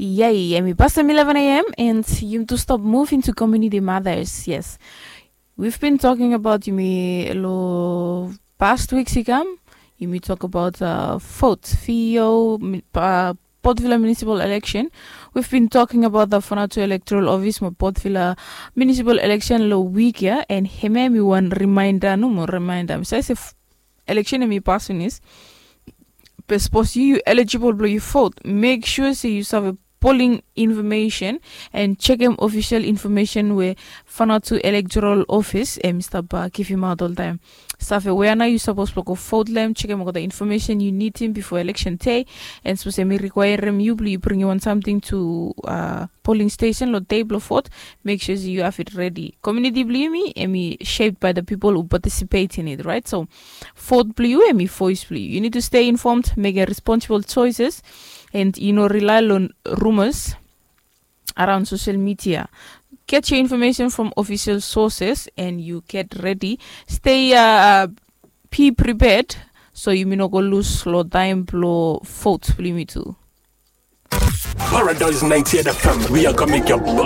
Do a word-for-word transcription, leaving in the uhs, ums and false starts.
Yay, yumi pasem eleven a.m. and yumi tu stop move into community matters. Yes, we've been talking about yumi lo past weeks i kam. Yumi talk about uh, vote fio uh, Port Vila municipal election. We've been talking about the Fanatu electoral office mo Port Vila municipal election lo week ya, and hemia mi wan reminder no mo reminder mi sai se election mi pass finis. Be sapos yu yu eligible blo yu vote, make sure se yu save polling information and chekem official information we Fanatu electoral office em i stap uh, givimaot oltaim. Save wea nao yu sapos blo go vote long em, chekem olgeta information yu nidim bifo election day. And sapos em i requirem yu blo yu bringim wan samting to uh, polling station lo day blo vote, make sure se yu have it ready. Community blo yumi em i shaped by the people who participate in it, right? So vote blo yu em i voice blo yu. You need to stay informed, make a responsible choices, and you know rely on rumors around social media. Get your information from official sources and you get ready. Stay uh, be prepared so yumi no go lose lo time blo vote blo yumi tu. Paradise ninety-eight F M, we are gonna make your body